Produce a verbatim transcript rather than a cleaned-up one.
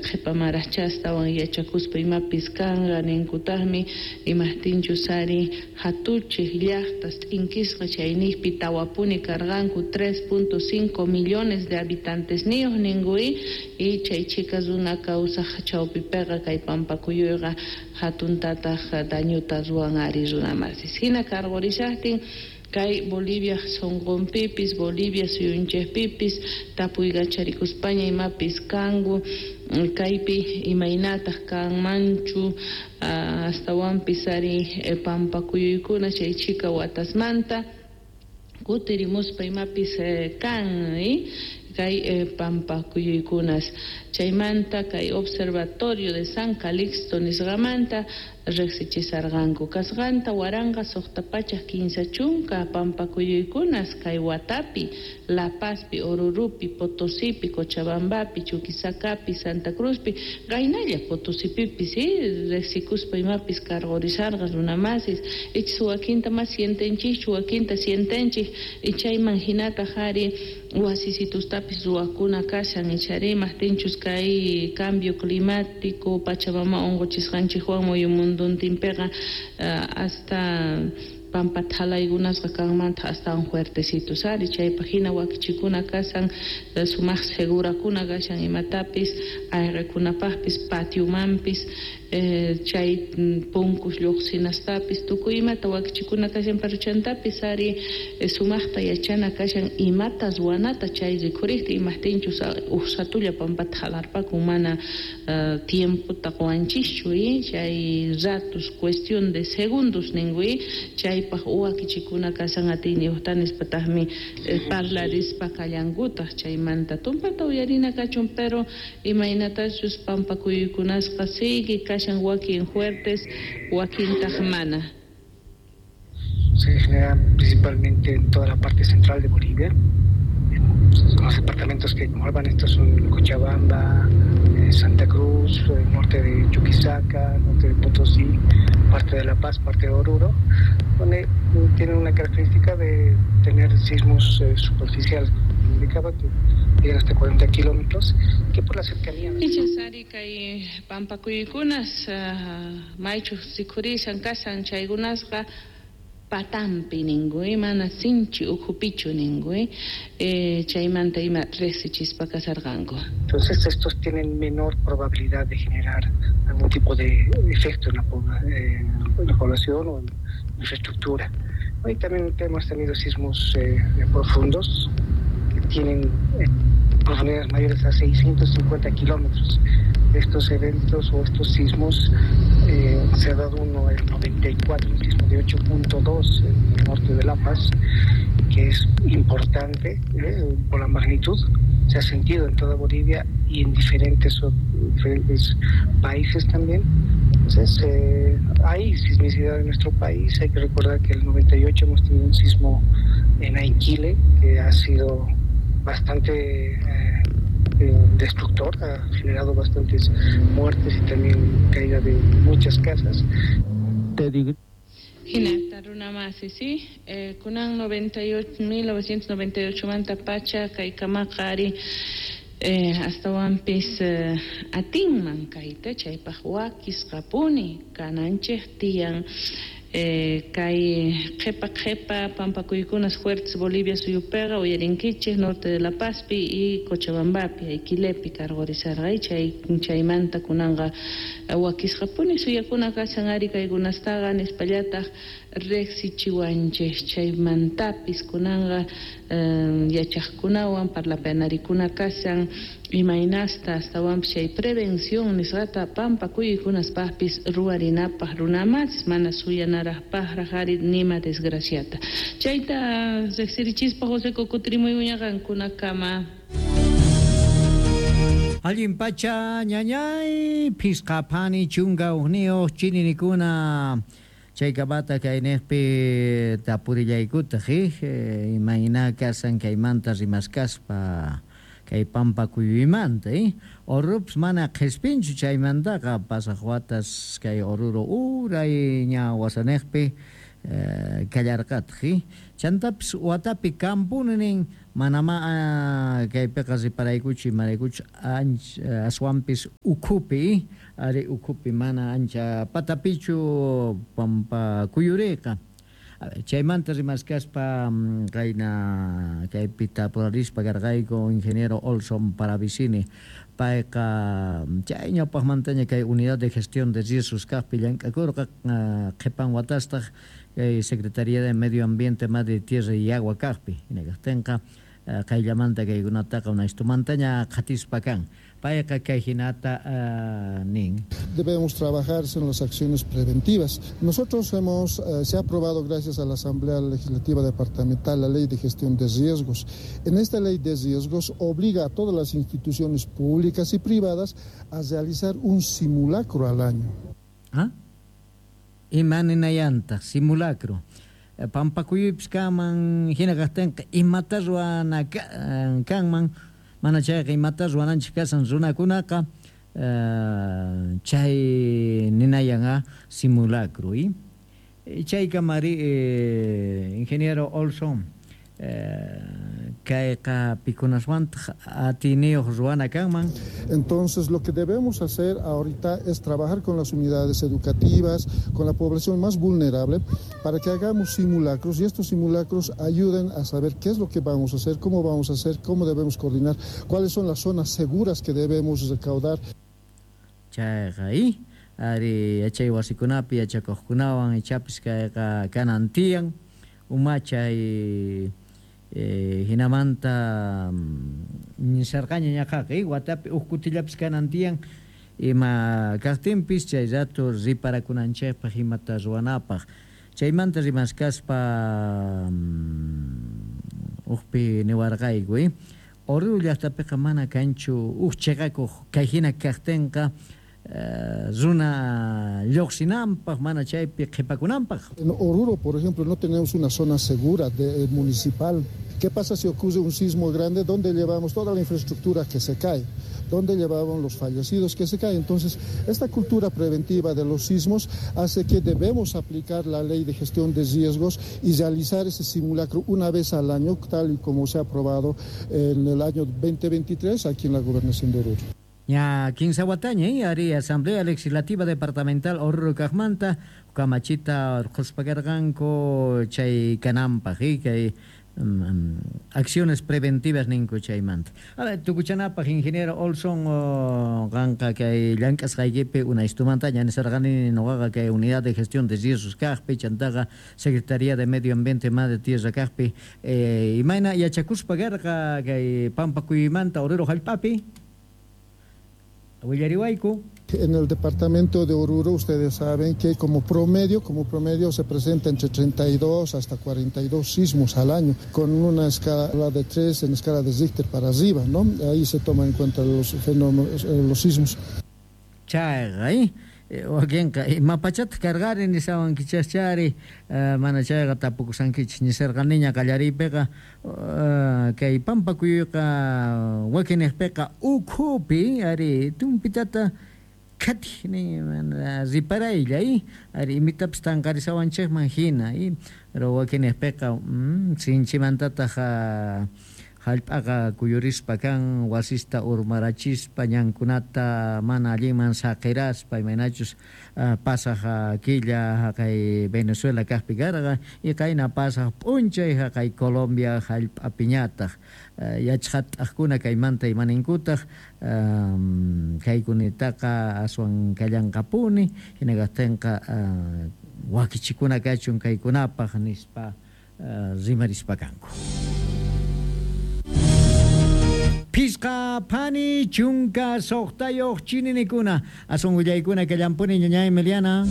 Qhipamanraqchá astawan yachakuspa imapis kanqa ninkutaqmi imaqtinchus ari hatuchiq llaqtas t'inkisqa chayniqpi tawapuni karqanku tres punto cinco millones de habitantesniyuq ninku y chay chhika runa kawsaq chawpipiqa kay pampakuyuyqa hatuntataq dañuta ruwan ari runamasis hina karqurishaqtin kay Bolivia sunqunpipis Bolivia suyunchikpipis tapuykacharikuspaña imapis kanku kaypi imaynataq kanmanchu astawanpis ari pampakuyuykuna chay chhika watasmanta kutirimuspa imapis kan kay pampakuyuykunas chaymanta kay Observatorio de San Calixto nisqamanta riqsichisarqanku kasqanta waranqa suqta pachak kinsa chunka pampakuyuykunas kay watapi La Pazpi, Orurupi, Potosipi, Cochabambapi, Chuquisacapi, Santa Cruzpi qaynalla Potosipipis riqsikuspa imapis karqurisarqa runamasis ichis wakinta mas sientenchikchu wakinta sientenchik chayman hinataq ari wasisitustapis ruwakuna kashan ichari imaqtinchus kay cambio climático Pachamama unquchisqanchikwan muyumunduntinpiqa hasta pampa thalaykunasqa kanmanta astawan fuertecitos ari chaypaq hina wakichikuna kashan sumaq segurakuna kashan imatapis ayqikunapaqpis patiomanpis chay punkus lluqsinastapis tukuy imata wakichikuna kashan pero chantapis ari sumaqta yachana kashan imata ruwanata chay rikhuriqta imaqtinchus uq satulla pampata halarpakun mana tiempota quwanchischu chay ratos cuestión de segundos ninku chaypaq wakichikuna kashan atiyniyuqta nispataqmi parlarispa kallankutaq chaymanta tumpata uyarina kachun pero imaynatachus pampakuyuykunasqa sigue kashan wakin fuertes wakintaq mana. Se generan principalmente en toda la parte central de Bolivia. Los departamentos que engloban estos son Cochabamba, eh, Santa Cruz, el norte de Chuquisaca, norte de Potosí, parte de La Paz, parte de Oruro, donde tienen una característica de tener sismos eh, superficiales, indicaba que llegan hasta cuarenta kilómetros, que por la cercanía... Ichasari kay pampakuykunas maychu rikhurishan kashan chaykunasqa patampi ninku mana sinchi ukhupichu ninku eh, chaymanta ima riqsichispa kasarqanku. Entonces estos tienen menor probabilidad de generar algún tipo de efecto en la, eh, en la población o en infraestructura. Hoy también hemos tenido sismos eh, profundos que tienen eh, profundidades mayores a seiscientos cincuenta kilómetros. Estos eventos o estos sismos, eh, se ha dado uno el noventa y cuatro, un sismo de ocho punto dos en el norte de La Paz, que es importante, eh, por la magnitud, se ha sentido en toda Bolivia y en diferentes, diferentes países también. Entonces, eh, hay sismicidad en nuestro país. Hay que recordar que en el noventa y ocho hemos tenido un sismo en Aiquile, que ha sido bastante eh, destructor, ha generado bastantes muertes y también caída de muchas casas. Te digo. Hinata runamasi, sí, eh, kunan noventa y ocho, mil novecientos noventa y ocho manta pacha kaykamaqa ari eh, astawanpis eh, atinman kayta chaypaq wakisqapuni kananchik tiyan. Eh, kay qhipa qhipa pampakuykunas fuertes Bolivia suyupiqa uyarinkichik norte de La Pazpi y Cochabambapi Aiquilepi karqurisarqa chay chaymanta kunanqa wakisqapuni suyakuna kashan ari kaykunastaqa nispallataq riqsichiwanchik chaymantapis kunanqa eh, yachaqkunawan parlapanarikuna kashan imaynasta astawanpis chay prevención nisqata pampakuykunaspaqpis ruwarinapaq runamas mana suyanaraqpaqraq ari nima desgraciata chayta riqsirichispa José kukutrimuy uñaqankunakama. Allin pacha ñañay phisqa phani chunka uqniyuq chininikuna chaykapata kayniqpi tapurillaykutaq imayna kasan kaymanta rimaskaspa kay pampakuyuymanta eh Orurupas mana qhispinchu chaymantaqa pasaq watas kay Oruro uray ña wasaniqpi Kallarqataq chantapis watapi kampuni nin manama kaypiqa riparaykuchu imaraykuchu ancha aswanpis ukhupi ari ukhupi mana ancha patapichu pampa kuyuriqa. Chaymanta rimaskaspa qayna kaypi tapurarispa karqayku ingeniero Olson Paravicini payqa chay ñawpaqmantaña kay unidad de gestión de riesgos kaqpi llank'akurqa qhipan watastaq kay Secretaría de Medio Ambiente, Madre Tierra y Agua kaqpi hinakaqtinqa qayllamanta kaykunataqa unaystumantaña qhatispa kan. Payqa kay hinata nin. Debemos trabajar en las acciones preventivas. Nosotros hemos, eh, se ha aprobado gracias a la Asamblea Legislativa Departamental la Ley de Gestión de Riesgos. En esta Ley de Riesgos obliga a todas las instituciones públicas y privadas a realizar un simulacro al año. ¿Ah? Imaninayanta, simulacro. Pampakuyupis kanman, hina kaqtinqa imata ruwana kanman, mana chayqa imata ruwananchik kasan runakunaqa chay ninayan simulacro. Y chaykamari ingeniero Olson kayqa pikunaswantaq atiniyuq ruwana kanman. Entonces lo que debemos hacer ahorita es trabajar con las unidades educativas, con la población más vulnerable, para que hagamos simulacros y estos simulacros ayuden a saber qué es lo que vamos a hacer, cómo vamos a hacer, cómo debemos coordinar, cuáles son las zonas seguras que debemos recaudar. Chayqa ari yachay wasikunapi yachakuqkunawan ichapis kayqa kanan tiyan umachay Eh, hinamanta nisarqaña ñaqaqa watapi huk kutillapis kanan tiyan ima kaqtinpis chay rato riparakunanchikpaq imata ruwanapaq chaymanta rimaskaspa hukpi niwarqayku eh? Oruro llaqtapiqa mana kanchu huk chiqakuq kay hina kaqtinqa runa lluqsinanpaq mana chaypi qhipakunanpaq. En Oruro, por ejemplo, no tenemos una zona segura de, eh, municipal. ¿Qué pasa si ocurre un sismo grande? ¿Dónde llevamos toda la infraestructura que se cae? ¿Dónde llevaban los fallecidos que se caen? Entonces, esta cultura preventiva de los sismos hace que debemos aplicar la ley de gestión de riesgos y realizar ese simulacro una vez al año, tal y como se ha aprobado en el año veinte veintitrés aquí en la Gobernación de Oruro. Ya kinsa wataña ari Asamblea Legislativa Departamental Oruro kaqmanta kamachita urquspa karqanku chay kananpaq kay um, acciones preventivas ninku chaymanta. A ver, tukuchanapaq ingeniero Olson qanqa kay llank'asqaykipi unaystumantaña nisarqani nuqaqa kay unidad de gestión de riesgos kaqpi chantaqa Secretaría de Medio Ambiente Madre Tierra kaqpi eh, imayna yachakuspa karqa kay Pampakuymanta Oruro hallp'api. Willariwayku. En el departamento de Oruro ustedes saben que como promedio, como promedio se presenta entre treinta y dos hasta cuarenta y dos sismos al año, con una escala de tres en escala de Richter para arriba, ¿no? Ahí se toman en cuenta los fenómenos, los sismos. Chayqa, ¿eh? Wakinqa imapachata cargari nisawankichaschari mana chayqa tapukusankichis nisarqaniña qallariypiqa kay pampakuyqa wakiniqpiqa ukhupi ari tumpitata khati ni riparaylla ari imitapis tanqarisawanchikman hina pero wakiniqpiqa sinchimantataq hallp'aqa kuyurispa kan wasista urmarachispa ñankunata mana allinman saqiraspa imaynachus pasaq killa haqay Venezuela kaqpi karqa y qayna pasaq p'unchay haqay Colombia hallp'apiñataq yachqat'aqkuna kaymanta imaninkutaq kaykunitaqa aswan kallanqapuni hina kaqtinqa wakichikuna kachun kaykunapaq nispa rimarispa kanku. Pisqa phani chunka suqtayuq chininikuna asun willaykuna kallampuni ñañay Emiliana.